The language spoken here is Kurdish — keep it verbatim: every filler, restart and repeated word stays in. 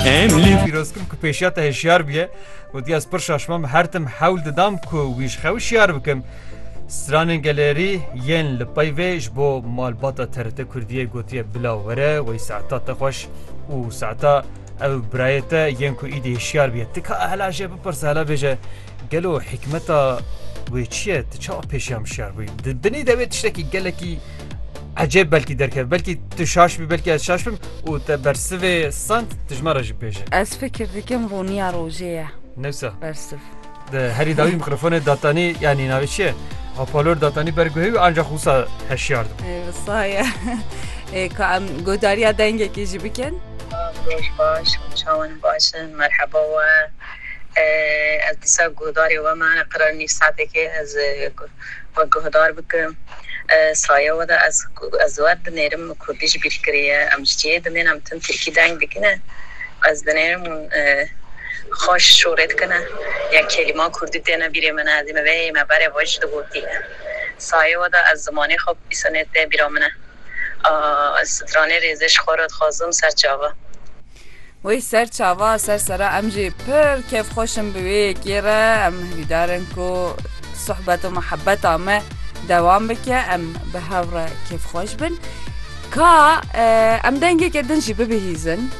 Em li Pîroz kim ku pêşiya te hişyar bûye. Gotiye, ez pir şaş mam, her tim hewl didam ku wî ji xwe hişyar bikim. Stranên gelerî yên li pey vê ji bo malbata T R T Kurdiyê gotiye, bila were, wey saeta te xweş û saeta ew birayê te yên ku îdî hişyar bûye. Tu ka hela jê bipirse, hela bêje, gelo hikmeta wê çi ye? Tu çawa pêşiya hişyar bûyî? Di binî de wê tiştekî gelekî ecêb belkî derkeve. Belkî tu şaş bî, belkî ez şaş bim û te bersivê sand, tu ji me re jî bêje. Ez fikir dikim rûniya rojê ye. Newsa. Bersiv. Di herî dawî mikrofonê datanî, yanî navê çi ye? Hopalor datanî ber guhê wî, ancaq wisa hişyar dibû. Ê, wisa ye. Ê, ka em godariya dengekê jî bikin. Roj baş, çawan baş in, merheba we. Ê, ez dîsa guhdarê we me, qirarî nîv saetekê ez, ê, gu-, we guhdar bikim. Ê, saye we de ez, ez we dinêrim, kurdî ji bîr kiriye. Em ji cihê dinên, em tim tirkî deng dikine. Ez dinêrim, ê, xweş şûrê dikine. Ya kelîma kurdî têne bîrê min, ez ê me vê me berê xwe jî digotiye. Saye we de ez zimanê xwe bîsonê tê bîra min e. Aa, ez stranê rêzê ji xwe re dixwazim ser çava. Wey ser çava, ser sera, em jî pir kêfxweş in bi wê yekê re. Em hîvîdar in ku sohbet û muhebbeta me dewam bike, em bi hev re kêfxweş bin. Ka, e, em dengeke din jî bibihîzin.